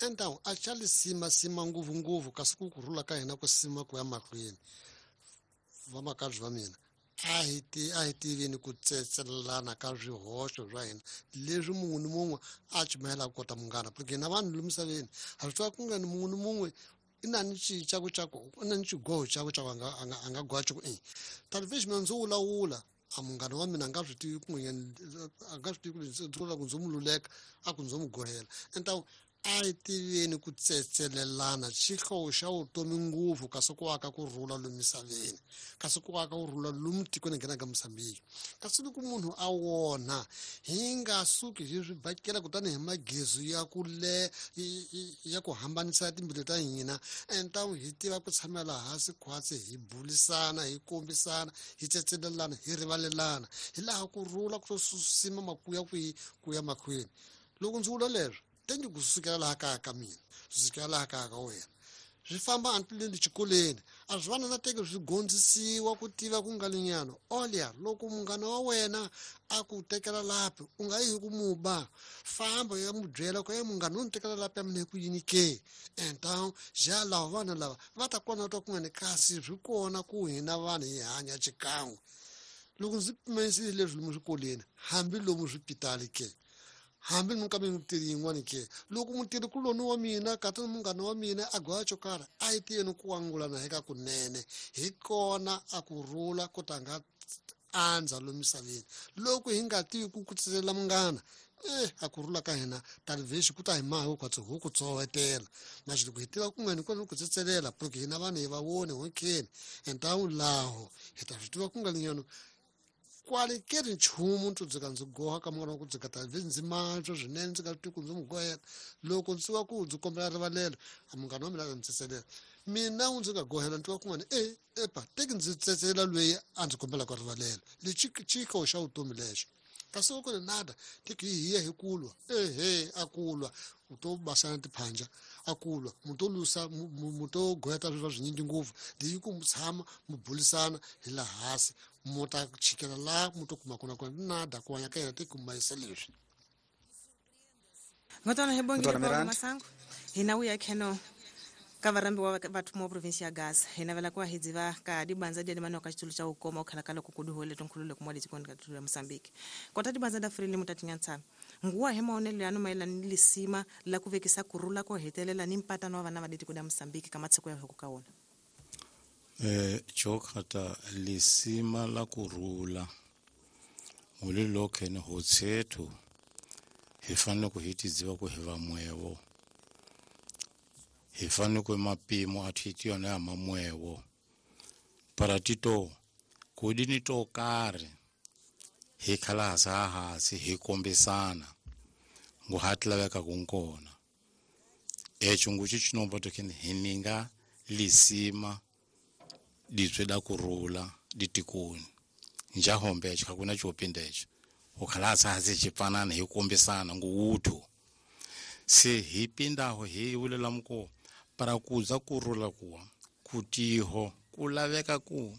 Então a xa lisima-sima ngopfungopfu kasi ku kurhula ka hina ku sima ku ya mahlweni. Vamakabye va mina, a hi ti a hi tiveni ku tsetselelana ka swihoxo swa hina leswi mun'we ni mun'we a chumayelaka kota munghana, porque hina vanhu lomu misaveni ha swi tiva ku nga ni mun'we ni mun'we i na ni xicaku xa ku i na ni xigoho xakwe xa ku a nga goha ku i talivexi mina ndzo wulawula a munghana wa mina a nga swi tivi kun'wanyana, a nga swi tivi ku ndzi vula ku ndzo mu luleka a ku ndzo mu gohela. Então a hi tiveni ku tsetselelana, xihlovo xa vutomi ngopfu kasi ku aka ku rhula lomu misaveni, kasi ku aka ku rhula lomu tikweni hi nghenaka Mozambique. Kasi loko munhu a wona hi nga suki hi swi bakela kutani hi magezi ya ku le ya ku hambanisa timbilu ta hina. Então hi tiva ku tshamela hansi khwatsi, hi bulisana, hi kombisana, hi tsetselelana, hi rivalelana, hi laha ku rhula ku sima makuya kwihi ku ya mahlweni. Loko ndzi vula leswo tengi ku sukela laha kaya ka mina, swi sukela laha kaya ka wena, swi famba antileni xikolweni a swi vana na teke swi gondzisiwa ku tiva ku nga linyana olya. Loko munghana wa wena a ku tekela lapi, u nga yi hi ku muba, famba ya mu byela ku e munghana u ni tekela lapi ya mina hi ku yini ke. Então ja lava vana lava va ta kona twa ku nga ni kasi swi kona ku hina vanhu hi hanya xikan'we. Loko ndzi pimanisile leswi lomu swikolweni, hambi lomu swipitali ke, hambi ni ka mintirho yin'wana ke, loko mutirhi kuloni wa mina kata ni munghana wa mina a goya xo karhi, a yi tiveni ku angulana hi ka kunene, hi kona a ku rhula ku ta nga andza lomu misaveni. Loko hi nga tivi ku tsetselela munghana, a ku rhula ka hina talivhexi ku ta hi maha kwatsi hu ku tsowetela. Mas loko hi tiva ku nga ni kona ku tsetselela, porque hina vanhu hi va voni honkeni, então laho hi ta swi tiva ku nga linyano kwale ke ri nchumu ndzi dzika ndzi goha ka munghana wa ku dzika ta ndzi mantswa swinene, ndzi nga tivi ku ndzi n'wi gohela. Loko ndzi wa ku ndzi kombela rivalelo, a munghana wa mina a ndzi tsetselela mina wu ndzi nga gohela, ndzi twa kun'wana e epa teki ndzi tsetselela loyi a ndzi kombelaka rivalelo. Lexi xihlovo xa vutomi lexo kasi loko ni nada teki hi ya hi kulwa ehe a kulwa u to basana tiphanja a kulwa mu to lusa mu to goheta swilo swinyingi ngopfu leyi ku mu tshama mu bulisana hi laha hansi mu ta chikela laha mu to kuma kona kona nada ku hanya ka yena teki mayisa leswi. Ngotwana hi bongile. Ngotwana Paulo Miranda. Masango hina uya kheno ka varambiwa va thumo wa provinsi ya Gaza, hi navela ku hi dziva ka dibanza dia dimano ka xitulu xa ukoma u khala ka loko ku duhole tinkhululo kumwa letikweni ka tulu ya Mozambique kota dibanza da Frelimo tatinyantsana nguwa hi maonelo yanu mayelana ni lisima la ku vekisa kurhula ko hetelela ni mpatano wa vana va letiko da Mozambique ka matshiko ya hoko ka wona. Jokhata lisima la kurhula ngulilokhe ni hotsethu hi fanele ku hi tidziva ku hi vamwevo, hi fanele ku mapimo a thiti yona ya mamwevo para tito kudini to karhi hi khala hasa hansi hi kombisana ngu ha laveka ku nkona echo nguchi chinomba tokeni hi ninga lisima ditswe da kurhula ditikoni njahombe echo hakuna chopinda echo ukhala hansi chipanana hi kombisana nguwuthu se hi pindaho hi vulela muko para kuza kurhula kuwa kutiho ku laveka ku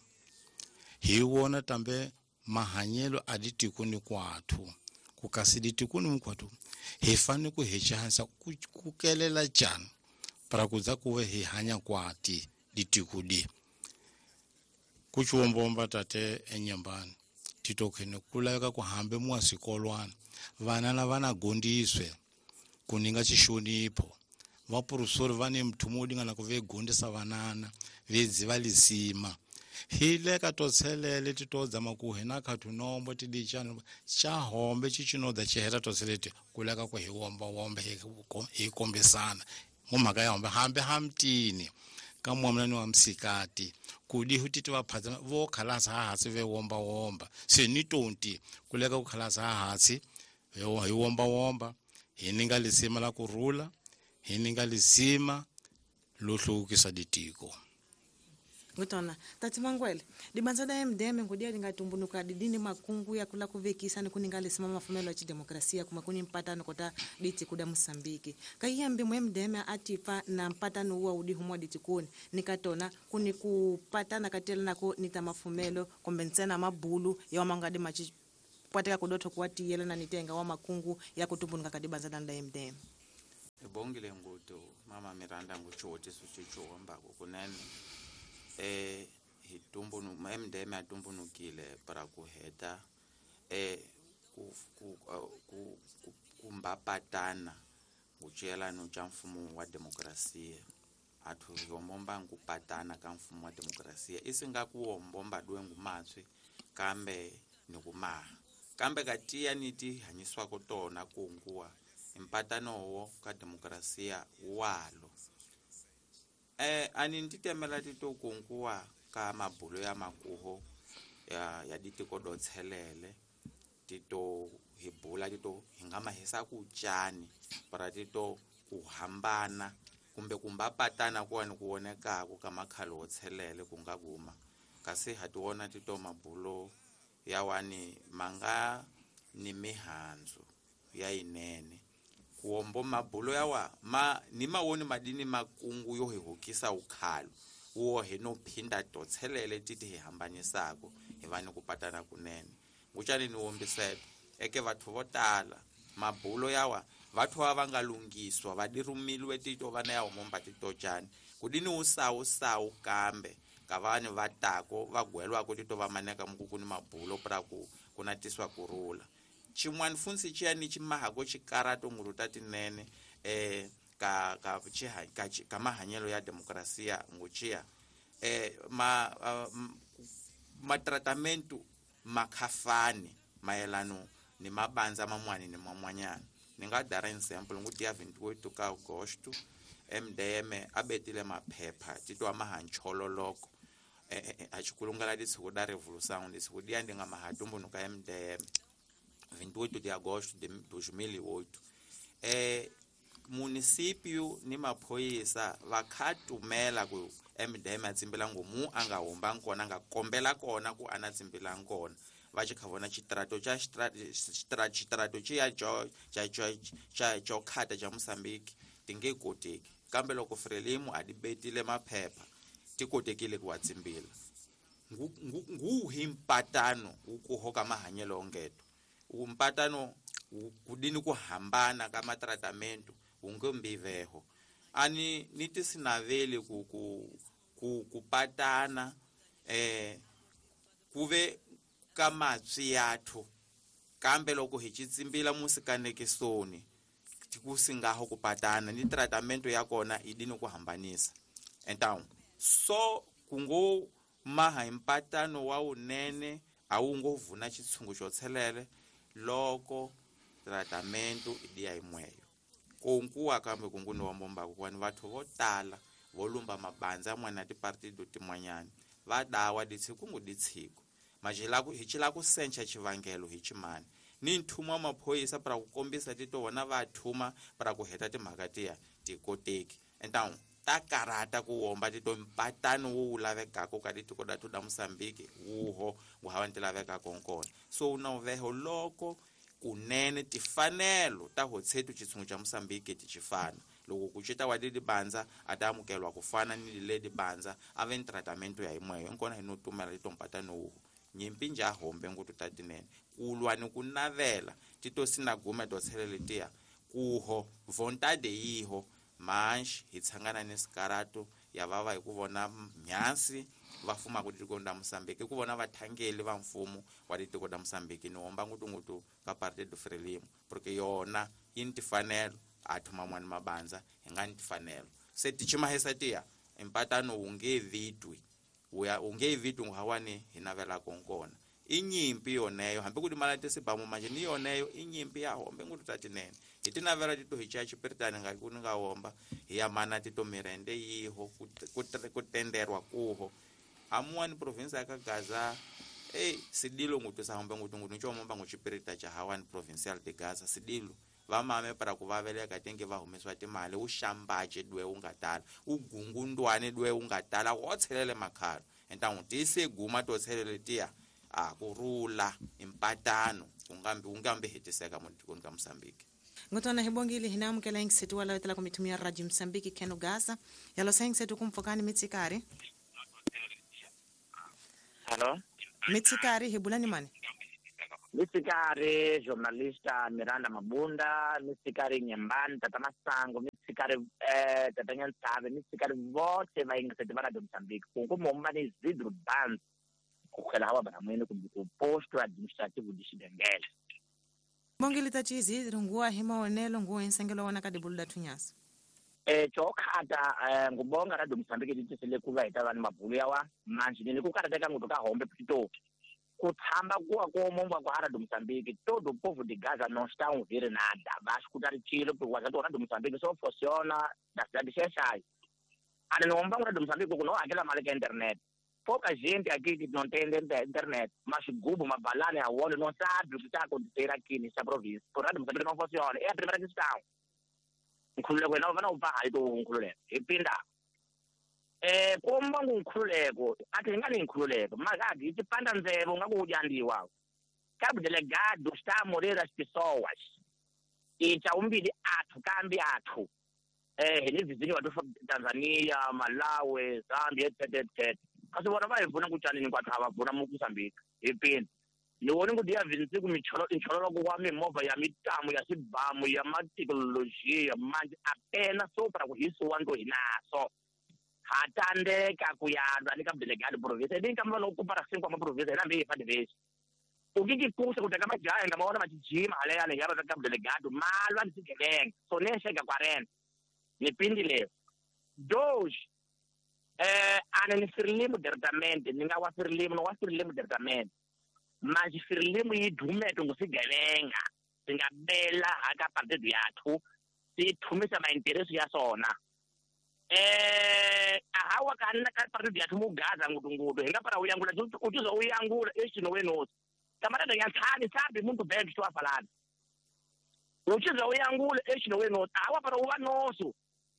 hi wona tambe mahanyelo a ditikoni kwathu ku kasi ditikoni minkwathu hi fanele ku hi chansa ku kelela njhani para kuza kuve hi hanya kwati ditiko di ku chiwombomba tate enyambani titokhene ku laveka ku hambe mwa swikolwana vana na vana gondiswe ku ninga xixonipho vapurusori va ni mthumo wo dingana ku ve gondisa vanana ve dziva lisima hi le ka to tshelele ti to dzama ku hina khathu nombo ti dichana cha hombe chi chinoda chiheta to tshelete ku leka ku hi womba wombe hi kombisana ngo mhaka ya hombe hambe hamtini ka mwamuna ni wa msikati kudi huti va phatsa vo khalasa ha hansi ve womba womba se ni tonti ku leka ku khalasa ha hansi hi womba womba hi ninga lisima la kurhula hi ninga lisima lo hluvukisa ditiko. Ngutona tati Mangwele, dibanza da MDM ngudia lingatumbunuka didini makungu ya kula kuvekisa ni kuninga lisima mafumelo ya chidemokrasia kuma kuni mpatano kota diti kuda Mosambiki kaiyambi mu MDM atipa na mpatano uwa udi humwa ditikoni nikatona kuni kupatana katela nako nita mafumelo kombe ntsena mabulu ya mangadi machi pwateka kudotho kuwatiyela na nitenga wa makungu ya kutumbunuka kadibanza da MDM. Bo. Bongile ngutu mama Miranda nguchiwotiso chichiwombako kunene hi tumbunu MDM atumbunukile para kuheta ku kumbapatana nguciyelano cha mfumo wa demokrasia athu yombomba nkupatana ka mfumo wa demokrasia isinga kuwombomba dwe ngumatswi kambe nikumaha kambe katiya niti hanyiswako tona kunguwa mpatano wo ka demokrasia walo ani nditemela tito kunguwa ka mabulo ya makuho ya ditiko dotshelele tito hibula tito hingama hisa kuchani para tito kuhambana kumbe kumbapatana kuwani kuonekako kamakhalo wotshelele kungakuma kasi hatiwona tito mabulo yawani manga ni mihanzu ya inene kuombo mabulo yawa ma ni mawoni madini makungu yo hihukisa ukhalo wo hino phinda totshelele titi hihambanisako hivani kupatana kunene nguchani ni wombisela eke vathu vo tala mabulo yawa vathu ava nga lungiswa vadirumilwe tito vana ya homomba tito chani kudini usawusawu kambe kavani vatako vagwelwako tito vamaneka mukukuni mabulo pra ku kunatiswa kurula chimwani funsi chiyani chimahako chikarato ngulu tatinene ka mahanyelo ya demokrasia nguchiya matratamento makhafani mayelano ni mabanza mamwani ni mamwanyana ninga dara example nguti ya 28 ka Agosto MDM abetile maphepha titwa mahanchololoko achikulungala ditsiko da revolução ditsiko dia ndinga mahatumbunuka MDM 28 de agosto de 2008 município ni maphoyisa vakhatumela ku MDM atsimbela ngomu anga humba nkona anga kombela kona ku ana tsimbela nkona va tshi kha vona xitirato xa xitirato xiya xo khata xa Mozambique ti nge koteki kambe loko Frelimo a di betile maphepha ti kotekile ku wa tsimbila nguhi mpatano wu kuho ka mahanyelo ongeto mpatano kudini ku hambana ka matratamento wu nge mbiveho ani ni tisinaveli ku patana kuve ka matswi yathu kambe loko hi xitsimbila musikanekisoni kusingaho ku patana ni tratamento ya kona idini ku hambanisa então so kungo maha impatano wa unene a wu ngo vuna xitshungu xo tshelele loko tratamento idiya yimweyo kunkuwa kambe kunguni wa mbombako kwani vathu vo tala vo lumba mabandza mwana tipartido tin'wanyana va dawa ditshiku ngu ditshiku majilaku hi chila ku sencha xivangelo hi chimani ni nthuma maphoyisa para ku kombisa tito vona va thuma para ku heta timhaka tiya tikoteki então ta karata ku womba tito mpatano wu lavekako ka titiko da da Mozambique wuho wu hava ni lavekako nkona so na uveho loko kunene tifanelo ta hotshetu xitshungu xa Mozambique ti xifana loko ku cita wa didibandza a ta amukelwa ku fana ni le dibandza a ve ni tratamento ya yimweyo nkona hi no tumela tito mpatano wuho nyimpi nja hombe ngutu tatinene kulwa ni ku navela tito sinagume to tshelele tiya kuho vontade yiho manji hi tshangana ni sikarato ya vava hi ku vona mhansi va fumaka tiko ra Mozambique ku vona vathangeli va mfumo wa tiko ra Mozambique ni homba ngutungutu ka Partido Frelimo porque yona yi ni tifanelo a thuma n'wana mabandza hi nga ni tifanelo se tichimahisa tiya empatano wu nge vitwi wu nge vitwi nguhawani hi navelaka nkona i nyimpi yoneyo hambi ku timala tisibamu manje ni yoneyo i nyimpi ya hombe ngutu ta tinene hi tinavela tito hi chaya xipiritani nga ku ni nga womba hi ya mana tito mirende yiho ku tenderwa kuho amuwani province ya ka Gaza sidilo ngutu sa hombe ngutu ngutu nicho momba nguchipirita cha hawani provincial de Gaza sidilo vamame para ku vaveleka tenge va humesiwa timali wu xambace dwe wu nga tala wu gungundwane dwe wu nga tala wo tshelele makhalo então tise guma to tshelele tiya a kurula impatano ungambi hetiseka mutikoni ka Mozambique ngotona hibongile hinamukela ingisetu wala wetela kumitumia Radio Mozambique keno Gaza yalo sengisetu kumfokani mitsikari. Hello mitsikari hibulani mani mitsikari journalista Miranda Mabunda mitsikari Nyembani Tata Masango mitsikari sikari tata Nyantsave ni sikari vote va yingiseti va Radio Mozambique ku momba ni Isidro Banz ku khela hawa banamwene kumbe ku posto administrativo de Xidengele. Bongile tati Isidro nguwa hi maonelo nguwa insengelo wana ka dibulu la thunyasa. Chokhata ngubonga Radio Mozambique titisele ku va hi ta va ni mabulu yawa manje ni ku karhateka ngopfu ka hombe pito ku tshamba kuwa ko momba kwa Radio Mozambique todo povo de Gaza não está a ouvir nada va escutar tiro porque a Radio Mozambique só funciona da cidade de Xai. Ana não vamos Radio Mozambique não aquela mala que internet. Pouca gente aqui que não tem internet, mas gubo, uma balana, a olho, não sabe o que está acontecendo aqui nessa província. Por Radio Mozambique não funciona. É a primeira questão. Nkhululeko yena va na u to nkhululeko hi pinda komba ngu nkhululeko a ti nga ni nkhululeko maka hi ti panda ndzevo nga ku dyandiwa Cabo Delegado está a morrer as pessoas e chaumbili athu kambi athu ni vizinho wa Tanzania, Malawi, Zambia etc etc kasi vona va hi pfuna ku tyanini kwathu a va pfuna Mozambique hi pinda ni vone ku dia vinci ku michololo wa mimovha ya mitamu ya swibamu ya mathekinolojiya manje apenas só para ku hisiwa nto hi naso ha tandeka ku yalwa ni ka Delegado province ni ka mva loko para cinco ma province na mbi fa divesi o que que custa ku teka majaha nga maona majijima haleyana ya va ka Delegado malwa ni swigevenga so ne chega 40 ni pindile dois ana ni Frelimo diretamente ni nga wa Frelimo no wa Frelimo diretamente mas Frelimo yi dumeto ngosigevenga singabela aka partido yathu sithumisa maintereso ya sona ahawa kana ka partido yathu mugaza ngutungutu hinga para uyangula utuzo uyangula eshino wenosi camarada yanthani sabe muito bem que estou a falar utuzo uyangula eshino wenosi ahawa para uwa nosso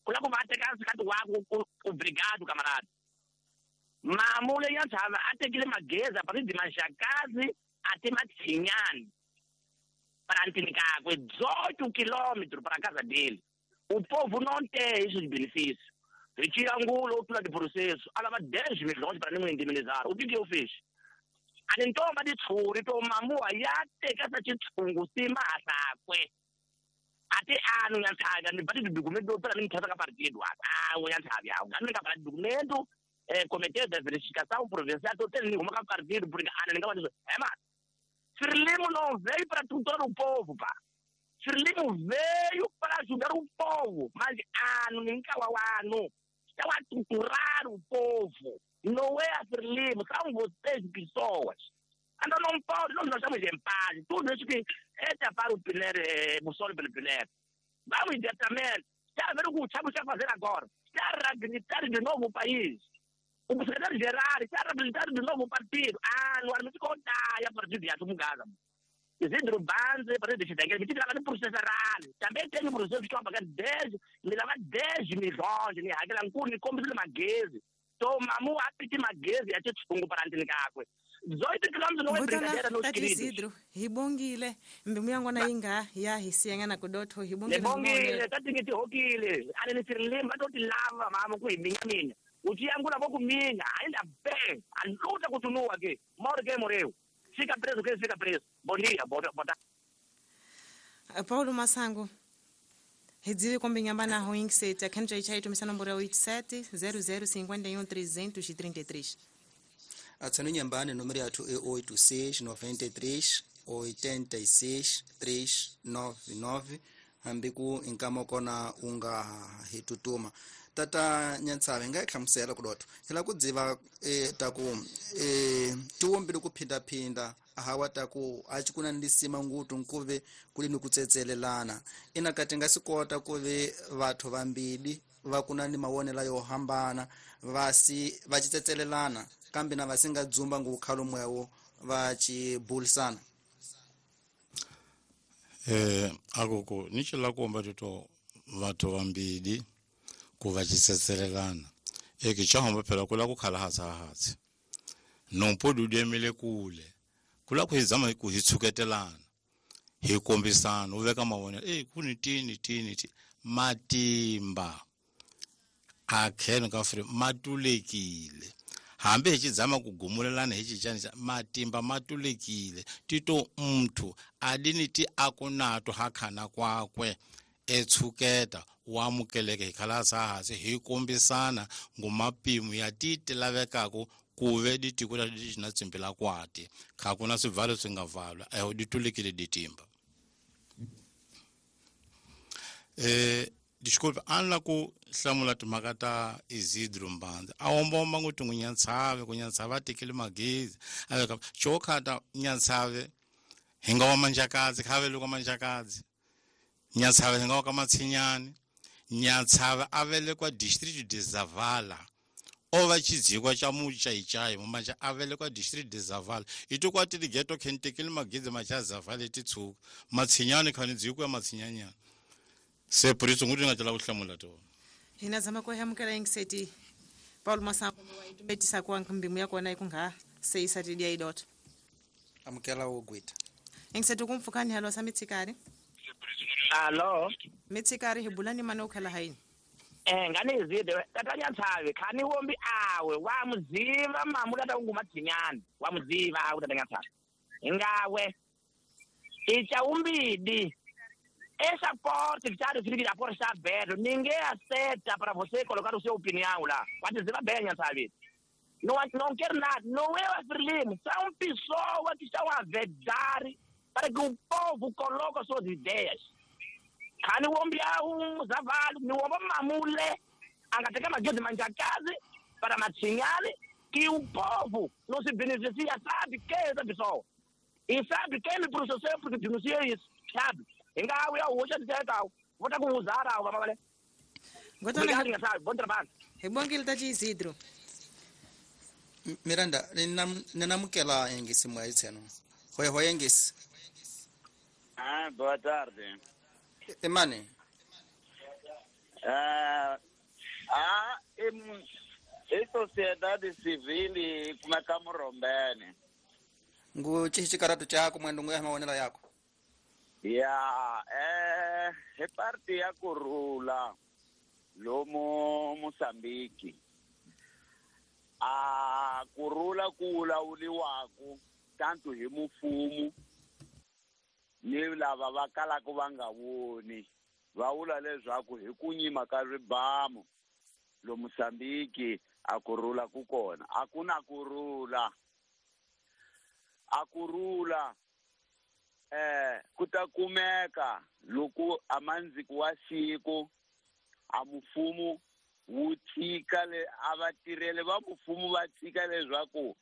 kula kuvateka sikati wako obrigado camarada mamule yanthava a tekile mageza paridi maxakazi a ti matshinyani para ntini kakwe 18 quilômetros para casa dele o povo não tem esses benefícios retira angulo ou tula de processo a lava 10 milhões para não indemnizar o que que eu fiz a ntomba de tshuri to mamua ya teka sa tshungu sima hasakwe ate ano yanthava ni bati documento para mim ka partido ah o yanthava ya nga ka documento comitê de verificação provincial tô tendo nenhuma ka partido porque ana ninga va ema Frelimo não veio para tutor o povo pá Frelimo veio para ajudar o povo mas ano ninga wa ano está a tutorar o povo não é a Frelimo são vocês pessoas então não pode nós estamos em paz tudo isso que é para o Piler Mussoli pelo Piler vamos diretamente está a ver o que o Chabo está a fazer agora está a reabilitar de novo o país. O secretário-geral está a reabilitar de novo o partido. Ah, não era muito contar, é partido de Gaza. Isidro Banze, partido de Xidengele, me tira lá no processo rural. Também tem um processo que estão a pagar 10, me leva 10 milhões, né? Aquela ncuri, como se magueze. Toma, mu apiti magueze, até tsungu para antinicakwe. 18 quilômetros não é brincadeira, meus queridos. Isidro, hibongile, mbimuyangwana inga ya hisiyangana kudotho hibongile. Hibongile, tatingiti hokile, ale ni Frelimo batoti lava mama ku iminya mina. Uchiyangula voku minha, ainda bem, a luta continua aqui. Morre quem morreu. Fica preso quem fica preso. Bom dia, boa tarde. Paulo Massango, Redzive kombinyamba na hoinksete, akhanja ichai tumisa nomboro 87 00 51 333. Atsano nyambane número yathu é 86 93 86 399 hambi ku inkama kona unga hitutuma tata Nyantsave nga hlamusela ku dotho hila ku dziva ta ku tiwombile ku phindaphinda hawa ta ku a ci kuna ndisima ngutu nkuve kuli ni ku tsetselelana ina kati nga sikota ku ve vathu vambili va kuna ni mawonela yo hambana vasi va ci tsetselelana kambe na vasinga dzumba ngu khalo mwewo va ci bulisana akoko ni ci la komba tito vathu vambili ku va ci tsetselelana eke xa hamba phela ku la ku khala hatsa hatsi nompo dudemile kule kula ku hi zama ku hi tshuketelana hi kombisana u veka mavonelo ku ni tini tini ti matimba a kheno ka fri matulekile hambi hi xidzama ku gumulelana hi xichani matimba matulekile tito muthu adini ti akunato hakhana kwakwe etshuketa wa amukeleka hi khala hansi hi kombisana ngomapimo ya ti lavekaka ku ve ditiko la na tsimbila kwati kha kuna swivalo swi nga valwa eho ditulekile ditimba desculpa an la ku hlamula timhaka ta Isidro Mbanza a omba ngoti ngunyantsave kunyantsave a tekile magezi a veka chokhata nyantsave hi nga wa manjakadzi kha vele kwa manjakadzi nyantsave hi nga wa ka matshinyani nyantsave a velekwa district de Zavala o va tshidzikwa tsha muchaichai mumanja a velekwa district de Zavala ito kwa tili ghetto khentekile magezi macha Zavala titshuka matshinyani khani dzikwa matshinyanyana se por isso nguti nga tla kuhlamula to hina zama ko hamukela ingiseti Paulo Masango wa itumetisa kwa nkambimu yako na ikunga seisa tidia idot amukela wogwita ingiseti kumfukani halo sa mitsikari alo mitsikari hibulani mano khala haini ngane izide tatanya nthawe khani wombi awe wa muziva mamu tata ungumadzinyana wa muziva awe tatanya nthawe ngawe icha umbidi essa porta que está a porta está aberta, ninguém aceita para você colocar o seu opinião lá. Pode dizer bem, sabe? Não, não quero nada, não é o Frelimo, são pessoas que estão a vedar para que o povo coloque as suas ideias. Khani wombi um zavalo, ni womba mamule, angateka magezi manjakazi para matshinyane que o povo não se beneficia, sabe quem é essa pessoa? E sabe quem me processou porque denuncia isso, sabe? Ingawe ya hoxa titeka vota ku uzara wa mavale ngotona sabe bom trabalho hi ta Isidro Miranda ninamukela engisi moya itseno hoye hoye engisi boa tarde emane e sociedade civil kumeka murombene ngu chichikaratu chako mwendo nguya maonela yako ya he parte ya kurula lomo Mozambique a kurula kulawuliwaku tanto hi mufumu ni lava va kalaka va nga voni va vula leswaku hi ku nyima ka ribamu lo Mozambique a kurula ku kona a ku na kurula a kurula kutakumeka loko amanziko wa siku a mufumu wu tshika le a vatirheli va mufumu va tshika leswaku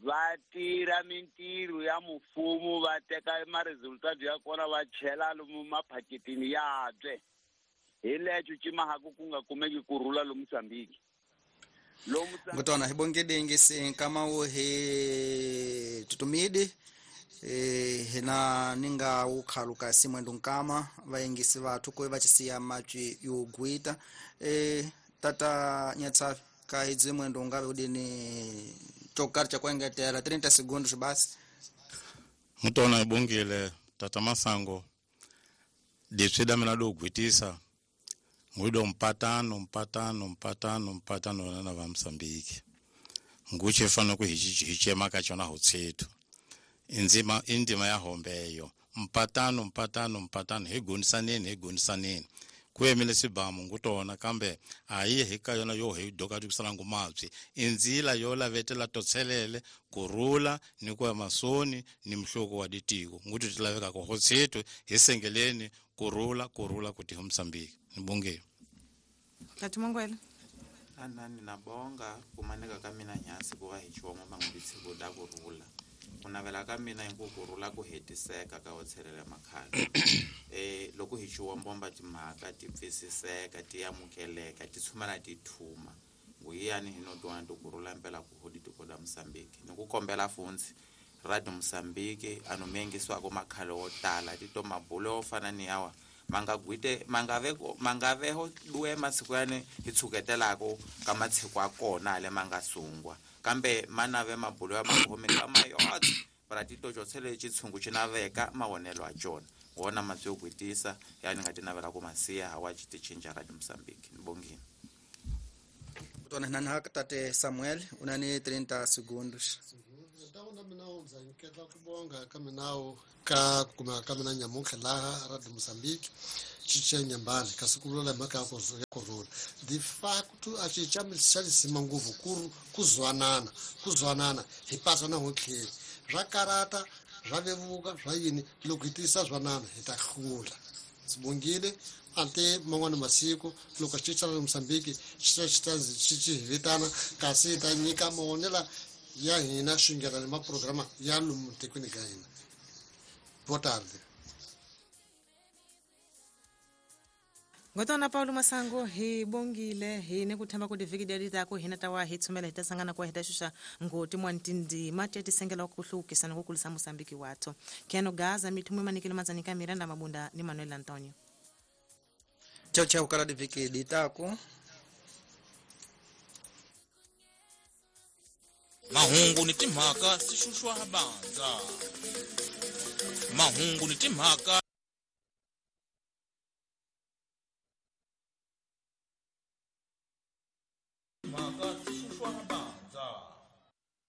va tirha mintirho ya mufumu va teka ma-resultado ya kona va chela lomu maphaketini yabye hi lexo cimahaku ku nga kumeki kurhula lomu Mozambique ngutona hi bongede ngisi nkama wo hi tutumide hina ninga ukhaluka simwendo nkama vaengisi vathu ko va chisiya matwi yo gwita tata nyatsafi ka idzi mwendo ungave udini chokari cha kuengetela 30 segundos basi mutona ibongile tata Masango ditswida mina do gwitisa ngudo mpatano mpatano mpatano mpatano na va Mozambique nguche fana ku hichema ka chona hotsetu inzima indima ya hombeyo mpatano mpatano mpatano hi gonisaneni ku emile sibamu ngutona kambe ayi hi ka yona yo hi doka tikusala ngumapsi inzila yo lavetela totselele kurula ni ku masoni ni mhloko wa ditiko nguti tilaveka ko hotsetu hi sengeleni kurula kurula kuti Mozambique nibonge Tatu Mangwele anani nabonga kumaneka ka mina nyasi ku va hi chiwongo mangubitsi ku da kurula ku navela ka mina hi ku kurhula ku hetiseka ka hotshelela makhale loko hi chiwombomba timhaka ti pfisiseka ti amukeleka ti tshumela ti thuma nguyani hi no twana ti kurhula mpela ku hodi tiko la Mozambique ni ku kombela fundzi radio Mozambique ano mengisiwako makhale wo tala tito mabulo yo fana ni yawa mangagwite mangaveho duwe masiku yani hi tshuketelako ka matshiko ya kona le mangasungwa kambe manave mabulo ya makhomi ka mayotse para tito tshele tshungu tshinaveka mawonelo a tsona wona matsi yo gwitisa yani nga tinavela ku masiya hawa tshichinja radio Mozambique nibongile Tona nana tate Samuel unani 30 segundos Ntawu na mina ndza nyiketa ku bonga ka minawu ka ku kumeka ka mina nyamuntlha laha Radio Mozambique cica Nyambani kasi ku vula mhaka ya ku rhula de facto a cica xa lisima ngopfu ku zwanana hi pasa na hotlheli swa karata swa vevuka swa yini loko hi tiyisa zwanana hi ta hlula. Ndzi bongile ante man'wana masiku loko xi ra Mozambique xi hi vitana kasi hi ta nyika mavonelo ya hina swingela ni maprograma ya lomu tikweni ka hina. Boa tarde. Ngotona Paulo Masango hi bongile hi ne ku themba ku tivhiki leti tako hina ta wa hi tshumela hi ta sangana kwa hi ta xuxa ngoti mwantindima ti tisengela ku hluvukisa ni ku kulisa Mozambique watho. Keno Gaza mithumwe manikelo matsanika Miranda Mabunda ni Manuel Antonio. Chau chau kala divhiki ditako. Mahungu ni timhaka swi xuxwa bandza. Mahungu ni timhaka mhaka